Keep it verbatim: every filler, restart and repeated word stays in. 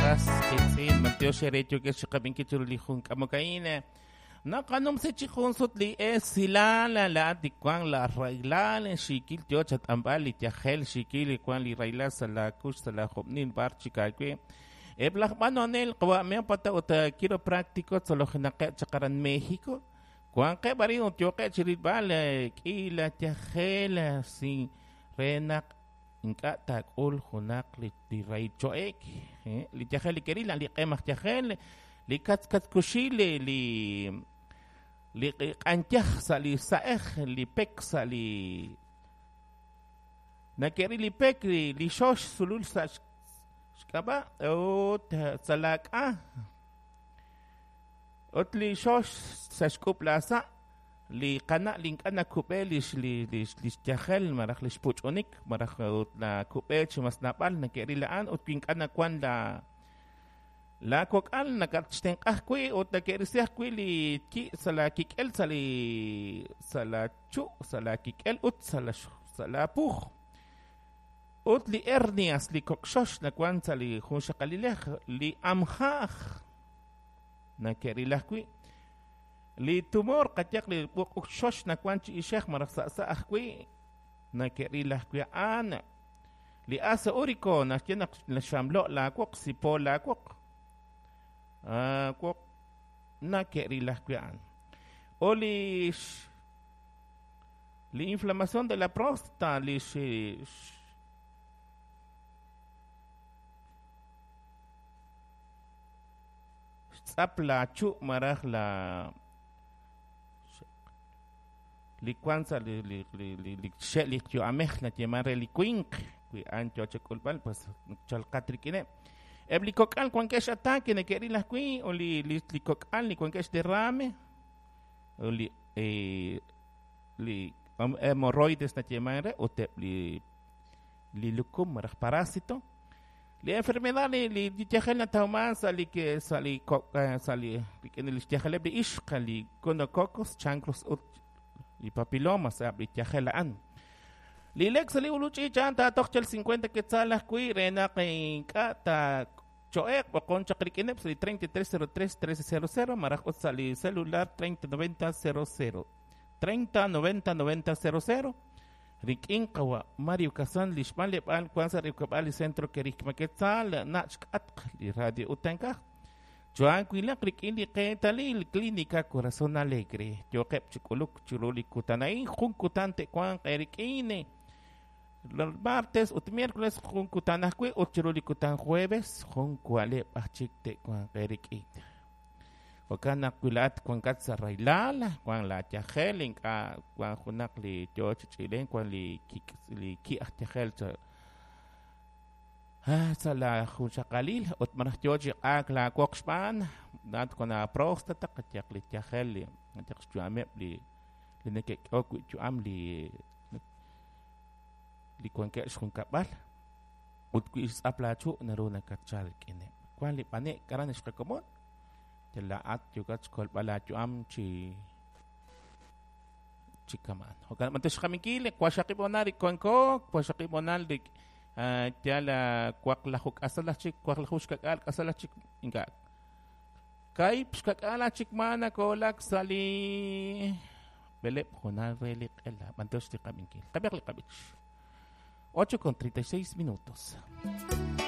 qas qiitz'in b'antiox re yookeb' xqab'inkil chiru li jun k'amok a'in naqanumsi chi jun sut li esilal laa'at li wank la rahilal xiikil yoo chat'anb'al li yajel xiikil li wank li rahilal sa' la kux sa' la job'nil b'ar chik aawe eb' laj b'anonel qawa' ut quiropráctico tzolojinaqeb' chaq aran México wanqeb' arin ut yooqeb' chi rilb'al k'i la yajel sin re naq ink'a' taak'ul junaq li li rahil cho'ek li yajel li keril li q'em aj yajel li katzkatkuxil li li li q'anyaj sa' li sa'ej li pek sa' li nake'ril li pek li li xox sulul sa' xk'ab'a' ut sa' laak'a ut li xox sa' xk'ub' la sa' li qana' li ink'a' nakub'e lix li lix lix yajel malaj lix puch'unik malaj ut nakub'e chi mas naab'al nake'ril a'an ut wi ink'a' nawan la la kok'al nakatxtenq'a ajwi' ut nake'risi ajwi' li ki' sa' la kik'el sa' li sa' la chu' sa' la kik'el ut sa' la sa' la puj ut li hernias li kok'xox nawan sa' li jun xaqalilej li amjaj nake'ril ajwi' li tumor qayaq li b'uq'uxox nawan chi ixej malaj sa' sa' ajwi' nake'ril ajwi' a'an li ácido úrico naxye naq naxamlo' laawoq sipo laawoq woq nake'ril ajwi' a'an o li li inflamación de la próstata li xtz'ap la chu' malaj la li wan sa' li li li li li xe' li yu'amej nayeeman re li winq wi a'an yoo chak'ulb'al pues chalqat rik'ineb' eb' li kok'al wankeb' x'ataque neke'ril ajwi' o li li li kok'al li wankeb' xderrame o li li hemorroides nayeeman re ut eb' li li lukum malaj parásito li enfermedad li li yajel natawman sa' li sa' li sa' li rik'in li xyajeleb' li ixq li gonococos chancros ut li papilomas eb' li yajel a'an li lek sa' li uluch'i chan taatoq chal cincuenta quetzal ajwi' re naq ink'a' ta cho'eq b'oqon chaq rik'ineb' sa' li treinta y tres cero tres trece cero cero malaj ut sa' li celular treinta noventa cero cero treinta noventa noventa cero cero rik'in qawa' Mario Kazan li xb'anleb'aal wan sa' rikab'al li centro Kerigma Quetzal nach' xk'atq li radio utankaj Joan wilaq rik'in li qeetalil Clínica Corazón Alegre yooqeb' chi k'uluk chiru li kutan a'in jun kutan te'wanq eerik'in martes ut miércoles jun kutan ajwi' ut chiru li kutan jueves jun wa'leb' aj chik te'wanq eerik'in jo'kan naq wi laa'at wankat sa' rahilal wan la yajel ink'a' wan junaq li yoo chi ch'ilen wan li kik' li ki' aj yajel sa' la junxaqalil ut malaj yoo chi q'aak la woq xb'aan laa'at wan la próstata qayaq li yajel li qayaq xyu'ameb' li li neke'k'ehok wi' yu'am li li wankeb' xjunkab'al ut wi xtz'ap laachu' naru nakatchal rik'ineb' wan li b'ane'k aran xqakomon laa'at yookat xkolb'al laayu'am chi chi kamaan jo'kan b'antiox xqaminkil waqxaqib' honal rik wanko waqxaqib' honal rik yal waqlaju k'asal aj chik waqlaju xkak'al k'asal aj chik ink'a' kaib' xkak'al aj chik ma nakoolak sa' li b'eleb' honal re li q'ela b'antiox li qaminkil qab'iaq li qab'ich ocho con treinta y seis minutos.